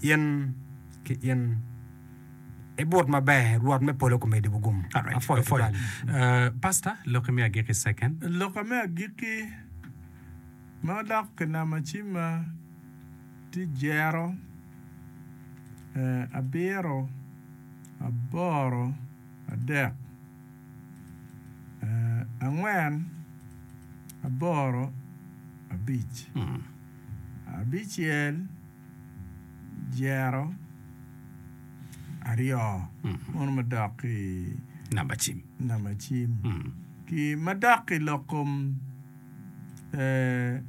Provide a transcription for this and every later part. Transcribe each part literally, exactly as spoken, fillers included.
In ki in ibut maber Rwot me polo komedi bugum. Alright. Apwoyo Apwoyo. tutwal. Uh, Pastor, loki me agikki second. Loka me agikki ma odok ki namba cimma tye jero eh, abiro aboro adek eh, angwen aboro abic abicel jero aryo mono madok ki Namba cim. namba cim ki madok i lok kom eh,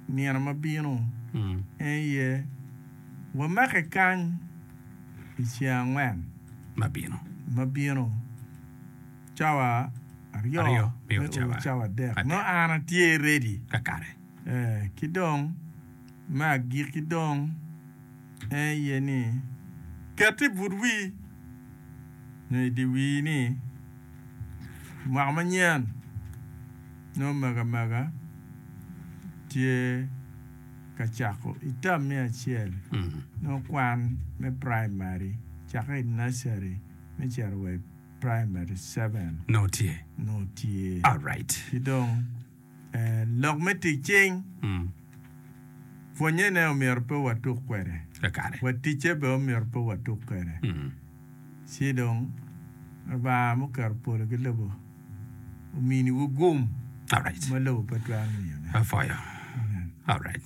nino mabino Mm. en iye wamake kany i ceng angwen Mabino. mabino cawa aryo Aryo, me me cawa o cawa adek adek. no an atye ready Kakare. eh, ki dong me agikki dong en iye ni ket i but wi nyo i di wi ni mwaka manyen nongo mega mega tye ka cako i term me acel Mm. nongo kwan me primary cake i nursery me cito wa i primary seven No tye. nongo tye Alright. ki dong eh, lok me tic cing Mm. pwonyene omyero pe watuk kwede Kakare. wa ticce be omyero pe watuk kwede Mm. ci dong Lubanga muketo polo ki lobo ominiwu gum Alright. ma lobo pe twero miyone Apwoyo. Amen. Alright.